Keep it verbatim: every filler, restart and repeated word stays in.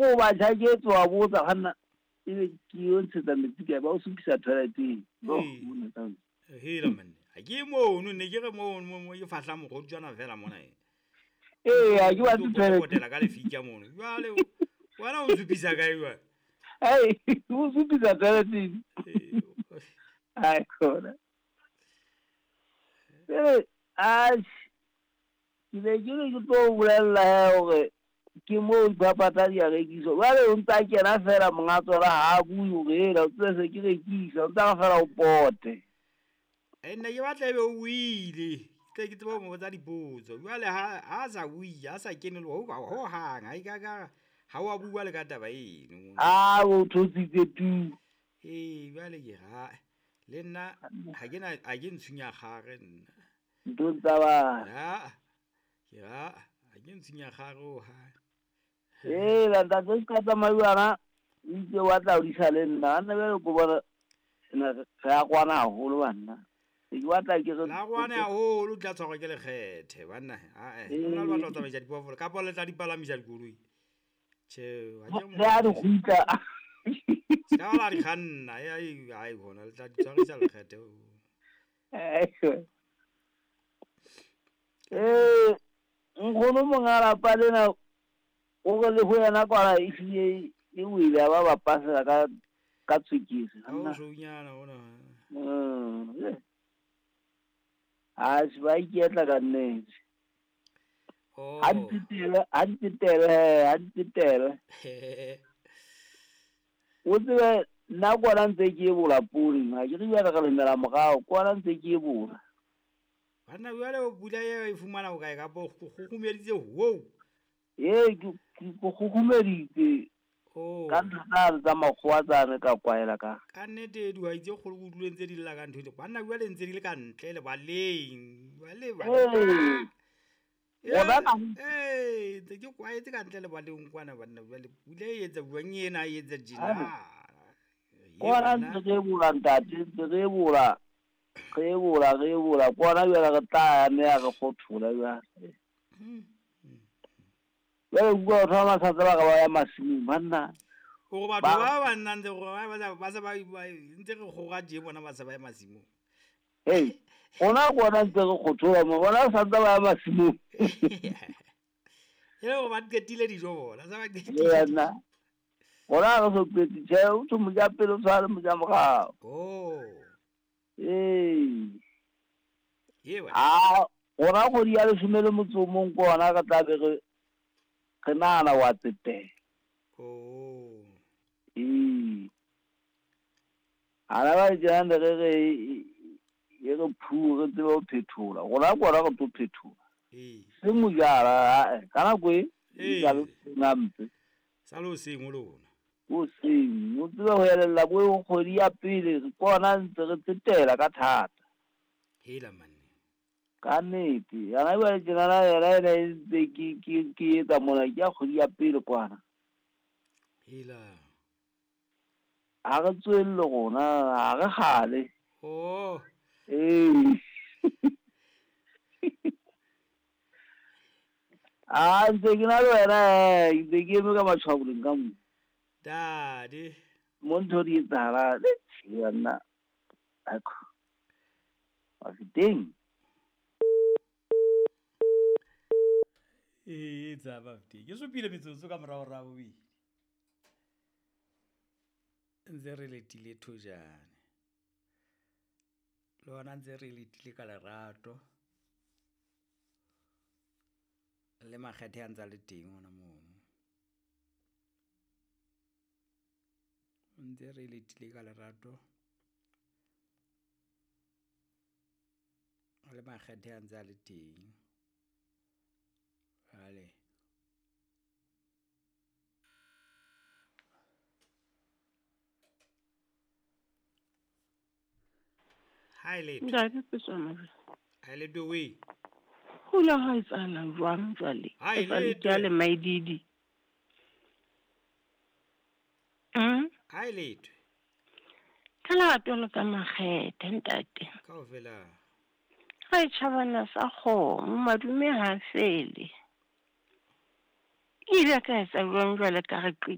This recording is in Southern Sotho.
O ba tjhaketse wa botsa kganna ebe ke yo ntshetsa metsi kae, ba o supisa toileteng. Hela manne ha ke mono ne ke re mono mo ke fahla mogoditswana fela mona e. Ee, ha ke batle toilet. Potela ka lefika mono. Jwale wena o supisa kae jwale? Ai, o supisa toileteng. Ai khona. Eh, a ke be ke re ke tlo bolella hore ke moo dipapatla di a rekiswa. Jwale o ntsa kena fela monga tsona ha a bue hore hela o tsebe se ke rekisa, o ntsa fela o pote. E nna ke batla ebe o buile, ke tle ke tsebe ho mo botsa dipotso. Jwale ha ha sa bue, ha sa kene le ho ho hang, ha e ka ka ha wa bua le ka taba eno. Ah, o thotsitse tu. Ee, jwale ke ha le nna ha ke na ha ke ntshunya kgare nna. Ntho tsa ba. Ha ke ha ha ke ntshunya kgare ho ha. Ee, la ntate se ka tsamaiwana o itse wa tla o disa le nna. Nna bjale ko bona re a kwana haholo banna. Ke batla ke re la kwana haholo tla tshwarwa ke lekgethe banna. Ae, nna le batla ho tsamaisa diphoofolo kapa le tla di palamisa dikoloi. Tjhe, ha ke mo. Le a di kgutla. Ska la di kganna, ai ai hona le tla di tshwarisa lekgethe. Eh, nkgono monga lapa lena o re le ho yena kwana e hlile e wile ba ba pasela ka ka tswekere. Ha o shounyana ona. Mm. A se ba iketla ka nnete. Oh. Ha di tele, ha di tele, ha di tele. O tsebe nna kwana ntse ke e bola poone, ha ke re jwale re lemela morao, kwana ntse ke e bola. Banna jwale o pula e fumana ho kae kapa o kgukgumeditse ho? Ee, ke kgukgumeditse. Oh. Ka ntho tsane tsa makgowa tsane ka kwaela ka. Ka nnete dihwai tse kgolo ke utlwile ntse di lla ka ntho eo. Banna jwale ntse di le ka ntle lebaleng. Jwale ba. Ee. Ee, ntse ke kwaetse ka ntle lebaleng kwana banna jwale pula e etsa jwang ena e etsa tjena. Kwana ntse re bola ntate, ntse re bola. Re bola, re bola. Kwana jwale re tla ya mme ya re kgothola jwale. Jwale bua batho ba masatsa ba ka ba ya masimong banna. Hore batho ba ba nna ntse gore ba ba se ba ntse re kgoga tje bona ba se ba ya masimong. Hey, rona kwana ntse re kgothola mo bona santse ba ya masimong. E le hore ba qetile dijo bona, sa ba qetile. Ee nna. Rona re so qetile, tjhe, o tho moja pele o tshware moja morao. Oh. Ee. Ee wa. Ah, rona kgwedi ya leshome le motso o mong ke ona re tla be re re nahana wa tsetela. Oh. Ee. Ana ba tjena re re e re phu re tsebe ho phethola. Rona kwana re tlo phethola. Ee. Se mojara ka nako e Ee. ka nampe. Sa lo seng o lona. O seng, o tsebe ho elella bo kgwedi ya pele re kona ntse re tsetela ka thata. Hela manne. Ka nnete, yana jwale tjenana yena ene e ntse ke ke ke etsa mona ke ya kgwedi ya pele kwana. Hela. Ha re tswelle rona, ha re kgale. Oh. Ee. Ah, ntse ke na le wena, eh, ntse ke eme ka matshwaboleng ka mo. Dade. Mo ntho di etsahala, le tjhe nna. Akho. Mafeteng. Ee, tsa Mafeteng. Ke supile metsotso ka morao ra bobedi. Ntse re letile thojane. Le hona ntse re letile ka lerato. Le makgethe a ntsa le teng hona mono. Ntse re letile ka lerato. Le makgethe a ntse a le teng. Jwale. Ha e letho. Ntate Peswana. Ha e letho we. Ho la ha etsahala jwang jwale? Ha e E sa le letho. ke a le maididi. Mm? Ha e letho. Ka lerato le ka makgethe ntate. Kaofela. Ha e tjhabana sa kgomo, madume ha fele. Ke ile ka etsa jwang jwale ka re qi